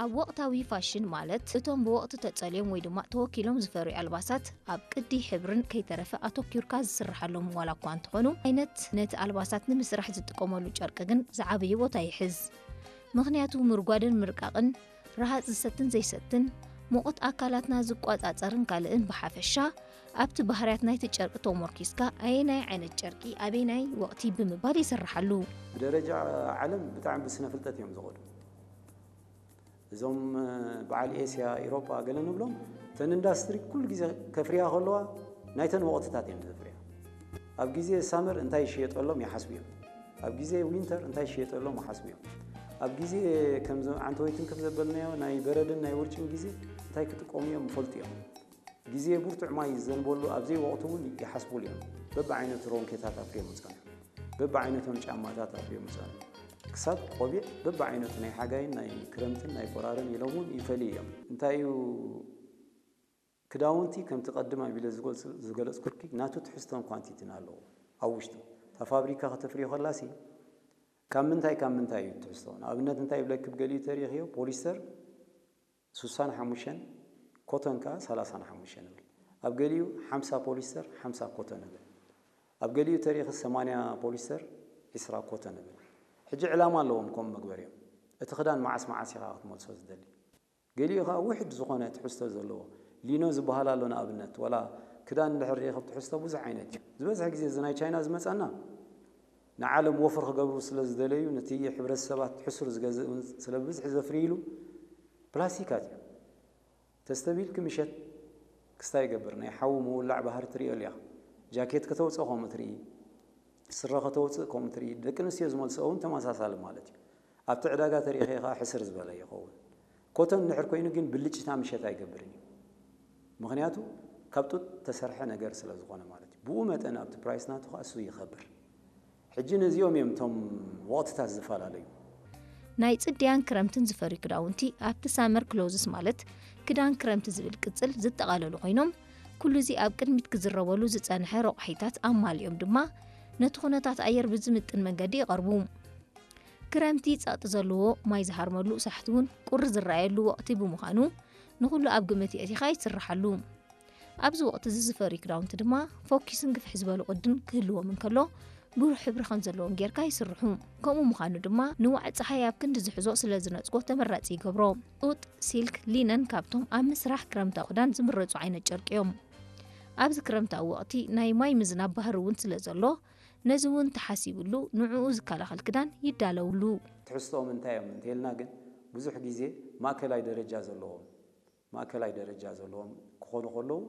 ኣብ ወቕታዊ ፋሽን፣ ማለት እቶም ብወቕቲ ተጸልዮም ወይ ድማ ተወኪሎም ዝፈርዩ ኣልባሳት፣ ኣብ ቅዲ፣ ሕብርን ከይተረፈ ኣተኪርካ ዝስርሓሎም ዋላ እኳ እንተኾኑ፣ ዓይነት ነቲ ኣልባሳት ንምስራሕ ዝጥቀመሉ ጨርቂ ግን ዝዓበየ ቦታ ይሕዝ። ምኽንያቱ ምርጓድን ምርቃቕን፣ ረሃጽ ዝሰትን ዘይሰትን፣ ሙቐት ኣካላትና ዝቋጻጸርን ካልእን፣ ብሓፈሻ ኣብቲ ባህርያት ናይቲ ጨርቂ ተሞርኪስካ ኣየናይ ዓይነት ጨርቂ ኣበየናይ ወቕቲ ብምባል ይስርሓሉ። ብደረጃ ዓለም ብጣዕሚ ብስነ ፍልጠት እዮም ዝኸዱ። እዞም በዓል ኤስያ፣ ኢሮጳ ገለ ንብሎም፣ እተን ኢንዳስትሪ ኩሉ ግዜ ከፍርያ ከለዋ ናይተን ወቕትታት እዮም ዘፍርያ። ኣብ ግዜ ሳመር እንታይ ይሽየጠሎም ይሓስቡ እዮም። ኣብ ግዜ ዊንተር እንታይ ይሽየጠሎም ይሓስቡ እዮም። ኣብ ግዜ ከምዚ ዓንተወይትን ከም ዘበልናዮ ናይ በረድን ናይ ውርጭን ግዜ እንታይ ክጥቀሙ እዮም ይፈልጡ እዮም። ግዜ ብርቱዕ ማይ ዝዘንበሉ ኣብ ዘይወቕቱ እውን ይሓስቡሉ እዮም። በብዓይነቱ ሮንኬታት ኣፍርዮም ይጸንሑ። በብዓይነቶም ጫማታት ኣፍርዮም ይጸንሑ። ክሳብ ቆቢዕ በብዓይነቱ ናይ ሓጋይን ናይ ክረምትን ናይ ቆራርን ኢሎም እውን ይፈልዩ እዮም። እንታይ እዩ ክዳውንቲ ከምቲ ቀድም ኣቢለ ዝገልጽ- ዝገለጽኩልኪ ናቱ ትሕዝቶን ኳንቲቲን ኣለዎ ኣብ ውሽጡ። እታ ፋብሪካ ከተፍርዮ ከላሲ ካብ ምንታይ ካብ ምንታይ እዩ ትሕዝቶ? ንኣብነት እንታይ ይብለኪ፣ ብገሊኡ ተሪኽዮ ፖሊስተር ሱሳን ሓሙሽተን፣ ኮተን ከኣ ሰላሳን ሓሙሽተን ይብል። ኣብ ገሊኡ ሓምሳ ፖሊስተር ሓምሳ ኮተን ይብል። ኣብ ገሊኡ ተሪኺ ሰማንያ ፖሊስተር ዒስራ ኮተን ይብል። ሕጂ ዕላማ ኣለዎም ከምኡ መግበሪኦም። እቲ ክዳን መዓስ መዓስ ኢኻ ክትመልሶ ዝደሊ? ገሊኡ ከኣ ውሕድ ዝኾነ ትሕዝቶ ዘለዎ ሊኖ ዝበሃል ኣሎ። ንኣብነት ዋላ ክዳን እንድሕር ርኢኺ ትሕዝቶ ብዙሕ ዓይነት እዩ። ዝበዝሐ ግዜ እዚ ናይ ቻይና ዝመጻና ንዓለም ወፍር ክገብሩ ስለ ዝደለዩ፣ ነቲ ሕብረተሰባት ሕሱር ዝገዝእ እውን ስለ ብብዝሒ ዘፍርይሉ ፕላስቲካት እዩ። ተስተብሂልኪ ምሸት ክስታይ ይገብር፣ ናይ ሓዊ ምውላዕ ባህሪ ትርእዮ ኣለኻ። ጃኬት ከተውፅእ ከምኡ ትርኢ፣ ስረ ከተውፅእ ከምኡ ትርኢ። ደቂ ኣንስትዮ ዝመልስኦ እውን ተመሳሳሊ ማለት እዩ። ኣብቲ ዕዳጋ ተሪእኺ ከዓ ሕስር ዝበለ ይኸውን። ኮተን እንድሕር ኮይኑ ግን ብልጭታ ምሸት ኣይገብርን እዩ። ምኽንያቱ ካብ ጡጥ ተሰርሐ ነገር ስለ ዝኾነ ማለት እዩ። ብኡ መጠን ኣብቲ ፕራይስ ናቱ ከዓ እሱ ይኸብር። ሕጂ ነዚኦም እዮም እቶም ወቕትታት ዝፈላለዩ። ናይ ጽድያን ክረምትን ዝፈርዩ ክዳውንቲ ኣብቲ ሳመር ክሎዝስ ማለት ክዳን ክረምቲ ዝብል ቅጽል ዝጠቓለሉ ኮይኖም፣ ኩሉ እዚ ኣብ ቅድሚት ክዝረበሉ ዝጸንሐ ረቑሒታት ኣማሊኦም ድማ ነቲ ኩነታት ኣየር ብዝምጥን መንገዲ ይቐርቡ። ክረምቲ ጸቕጢ ዘለዎ ማይ ዝሃርመሉ ሳሕቲ እውን ቁሪ ዝረኣየሉ ወቕቲ ብምዃኑ ንኹሉ ኣብ ግምት የእቲኻ ይስርሓሉ። ኣብዚ ወቕቲ እዚ ዝፈርዩ ክዳውንቲ ድማ ፎኪስን ግፍሕ ዝበሉ ቅድን ክህልዎም እንከሎ ብሩህ ሕብሪ ከም ዘለዎም ጌርካ ይስርሑ። ከምኡ ምዃኑ ድማ ንዋዒ ጸሓይ ኣብ ክንዲ ዝሕዞ ስለ ዝነጽጎ ተመራጺ ይገብሮ። ጡጥ፣ ሲልክ፣ ሊነን ካብቶም ኣብ ምስራሕ ክረምታዊ ክዳን ዝምረጹ ዓይነት ጨርቂ እዮም። ኣብዚ ክረምታዊ ወቕቲ ናይ ማይ ምዝናብ ባህሪ እውን ስለ ዘሎ ነዚ እውን ተሓሲብሉ ንዕኡ ዝከላኸል ክዳን ይዳለውሉ። ትሕዝቶኦም እንታይ እዮም እንተልና ግን ብዙሕ ግዜ ማእከላይ ደረጃ ዘለዎም ማእከላይ ደረጃ ዘለዎም ክኾኑ ከለዉ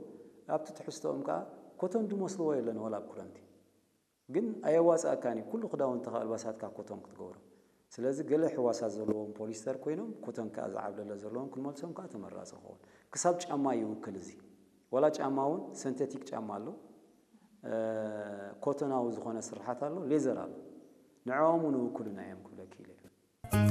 ኣብቲ ትሕዝቶኦም ከዓ ኮተን ዝመስልዎ የለን ዋላ ኣብ ክረምቲ። ግን ኣየዋፅኣካን እዩ ኩሉ ክዳውንትኻ ኣልባሳትካ ኮተን ክትገብሮ። ስለዚ ገለ ሕዋሳት ዘለዎም ፖሊስተር ኮይኖም ኮተን ከዓ ዝዓብለለ ዘለዎም ክንመልሶም ከዓ ተመራፂ ክኸውን። ክሳብ ጫማ ይውክል እዚ። ዋላ ጫማ እውን ሰንቴቲክ ጫማ ኣሎ፣ ኮተናዊ ዝኾነ ስርሓት ኣሎ፣ ሌዘር ኣሎ። ንዕኦም እውን ይውክሉና እዮም ክብለኪ ኢለ።